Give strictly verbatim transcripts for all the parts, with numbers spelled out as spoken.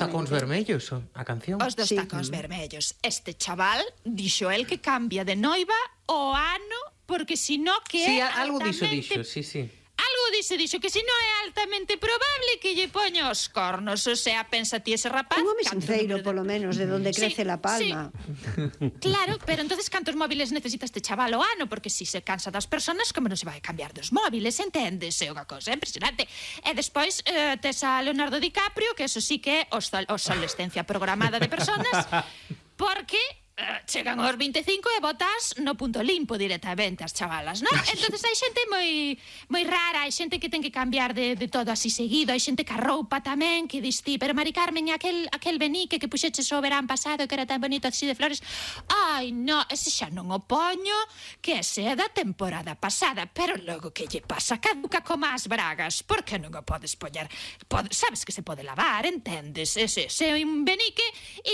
Tacóns vermellos, a canción. Os dos tacóns vermellos. Este chaval dixo el que cambia de noiva o ano porque si no que sí, é algo altamente... dixo, dixo, sí, sí. Algo dixo, dixo que si no é altamente probable que lle poña os cornos. O sea, pensa ti ese rapaz... Un home sincero, de... polo menos, de donde crece sí, la palma. Sí. Claro, pero entonces cantos móviles necesita este chaval o ano? Porque si se cansa das personas, como non se vai cambiar dos móviles, entendes? É unha cosa impresionante. E despois eh, tes a Leonardo DiCaprio, que eso sí que é obsolescencia programada de personas, porque... Uh, chegan aos vinte e cinco e botas no punto limpo directamente as chavalas, non? Entonces hai xente moi moi rara, hai xente que ten que cambiar de, de todo así seguido, hai xente que a roupa tamén, que dis ti, pero Mari Carmen, aquel, aquel benique que puxeches o verán pasado que era tan bonito así de flores, ai, no, ese xa non o poño, que ese é da temporada pasada, pero logo que lle pasa, caduca como as bragas, por que non o podes poñer? Pode, sabes que se pode lavar, entendes? Ese, ese é un benique,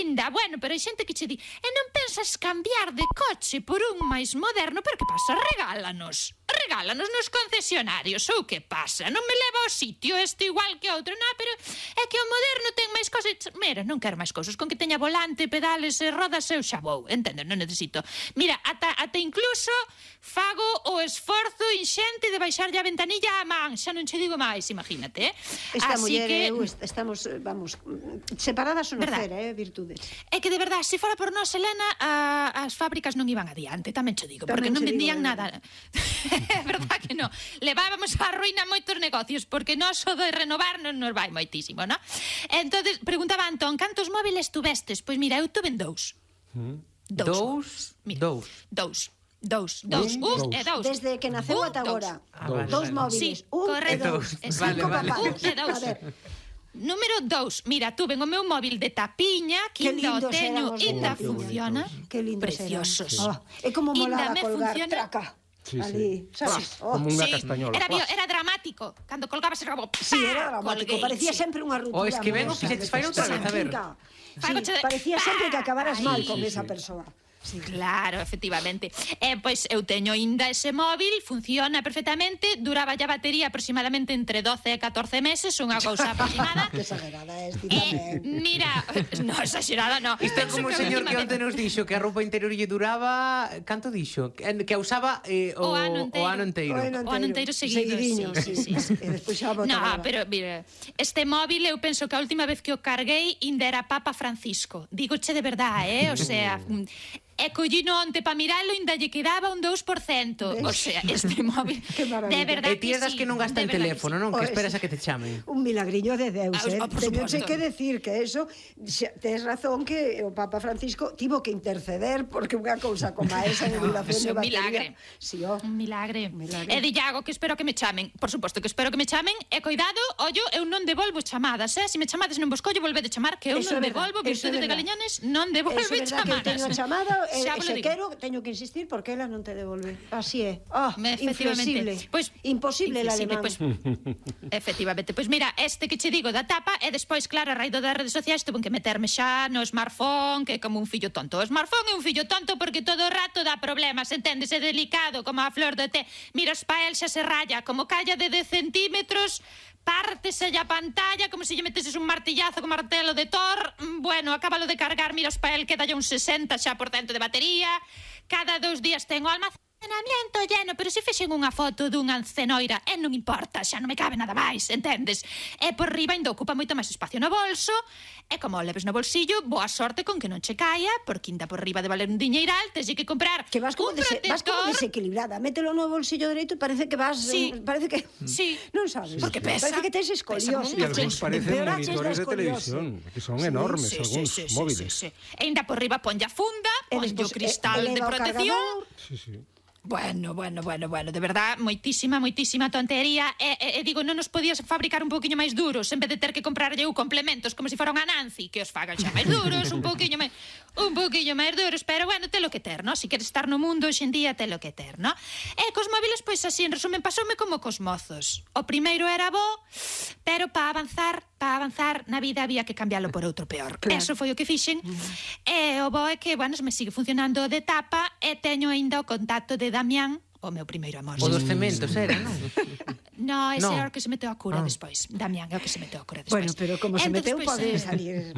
inda, bueno, pero hai xente que che di, e non pensas cambiar de coche por un máis moderno, pero que pasa? Regálanos. Regálanos nos concesionarios, ou que pasa? Non me leva ao sitio este igual que outro, non, pero é que o moderno ten máis cosas. Mira, non quero máis cousas, con que teña volante, pedales e rodas eu xa vou, entendo, non necesito. Mira, ata, ata incluso fago o esforzo inxente de baixarlle a ventanilla á man, xa non che digo máis, imagínate, eh? Esta muller que... eu estamos, vamos, separadas o nacer, eh, virtudes. É que de verdade, se fora por nós, Elena, a, as fábricas non iban adiante, tamén che digo, tamén porque non vendían digo, nada. É verdad que non. Levábamos a ruína moitos negocios, porque nós o de renovar non nos vai moitísimo, non? Entonces, preguntaba Antón, cantos móviles tuvestes? Pois mira, eu tuve dous. Mm. Dous? Mira, dous. Dous. Dous, dous, un e dous. Desde que naceu ata agora. Ah, vale, dous vale. móviles, sí, un correcto. e dous. Vale, vale. Un e dous. Número dous, mira, tuve o meu móvil de tapiña, que inda o teño, inda funciona. Que lindos preciosos. Oh, é como molaba colgar, funciona. traca. Sí, ali, sí. sabes? Oh. Como unha sí, castañola. Era, bio, era dramático. Cando colgabas era como... Sí, era dramático. Colguei, Parecía sí. sempre unha ruptura. O es que ven o fixetes fai outra vez, a ver. Sí, parecía sempre que acabaras mal con sí, esa sí. persoa. Sí, claro, efectivamente. Eh, pois eu teño ainda ese móvil, funciona perfectamente, duraba ya batería aproximadamente entre doce e catorce meses, unha cousa aproximada. Que exagerada é, ti Eh, tamén. mira, no, exagerada no. Isto é como o señor que onte nos dixo que a roupa interior lle duraba, canto dixo? Que, que a usaba eh, o, O ano enteiro. o ano enteiro. O ano O ano enteiro seguido, Seguidiño, sí, sí, sí, sí. E despois xa No, botaba. pero mira, este móvil eu penso que a última vez que o carguei ainda era Papa Francisco. Dígoche de verdade, eh? O sea, e collino onte pa miralo ainda lle quedaba un dous por cento. O sea, este móvil Que maravilla. de verdade E ti das sí, que non gastan de verdade teléfono, sí. non? Que Oh, esperas es- a que te chamen. Un milagriño de Deus, Ah, eh? por Teñoche suposto. que decir que eso, xa, tes razón que o Papa Francisco tivo que interceder porque unha cousa como esa de duración de Eso é un batería. milagre. Sí, oh. Un milagre. Un milagre. E dillago que espero que me chamen. Por suposto que espero que me chamen. E coidado, ollo, eu non devolvo chamadas, eh? Se me chamades non vos collo, volvede chamar, que eu Eso non é verdad, devolvo, eso é virtude de verdad. Galiñones non devolve Eso é verdad que eu chamadas. teño a chamada e, Xa e vos se lo digo. quero teño que insistir porque ela non te devolve. Así é. Ah, inflexible. Efectivamente. Pois, imposible el inflexible, alemán. Pois, efectivamente. Pois mira, este que che digo da tapa e despois, claro, a raíz das redes sociais tuve que meterme xa no smartphone, que é como un fillo tonto. O smartphone é un fillo tonto porque todo o rato dá problemas, entendes? É delicado, como a flor de té. Mira, os pa el xa se raya, como calla de dez centímetros, pártese a pantalla como se lle meteses un martillazo con martelo de Thor. Bueno, acábalo de cargar, mira, os pa el queda un sesenta xa por cento de batería. Cada dous días ten o almacenamiento lleno, pero se fixen unha foto dunha cenoira, e non importa, xa non me cabe nada máis, entendes? E por riba ainda ocupa moito máis espacio no bolso, e como o leves no bolsillo, boa sorte con que non che caia, porque ainda por riba de valer un diñeiral, tens que comprar Que vas como, un dese, vas como protector. desequilibrada. Mételo no bolsillo dereito e parece que vas... Sí. eh, Parece que... Sí. Non sabes. Porque pesa. Parece que tes Pesa escoliosis. como E algúns parecen Empeoraches da monitores de escoliosis. televisión, que son enormes, Sí, algúns sí, sí, móviles. sí, sí, sí. E ainda por riba ponlle a funda, E ponlle o despois, cristal eh, de eleva o protección. cargador. Sí, sí. Bueno, bueno, bueno, bueno, de verdad, moitísima, moitísima tontería. E, e, e digo, non nos podías fabricar un pouquiño máis duros en vez de ter que comprarlle eu complementos como se si fora unha Nancy, que os fagan xa máis duros, un pouquiño máis un pouquiño máis duros, pero bueno, telo que ter, no? Si queres estar no mundo hoxe en día, telo que ter, no? E cos móviles, pois así, en resumen, pasoume como cos mozos. O primeiro era bo, pero para avanzar, para avanzar na vida había que cambialo por outro peor. Claro. Eso foi o que fixen. E o bo é que, bueno, me sigue funcionando de tapa e teño aínda o contacto de Damián, o meu primeiro amor. O dos cementos era, non? No, ese No. é o que se meteu a cura Ah. despois. Damián é o que se meteu a cura despois. Bueno, pero como se Entón, meteu despois, pode eh, salir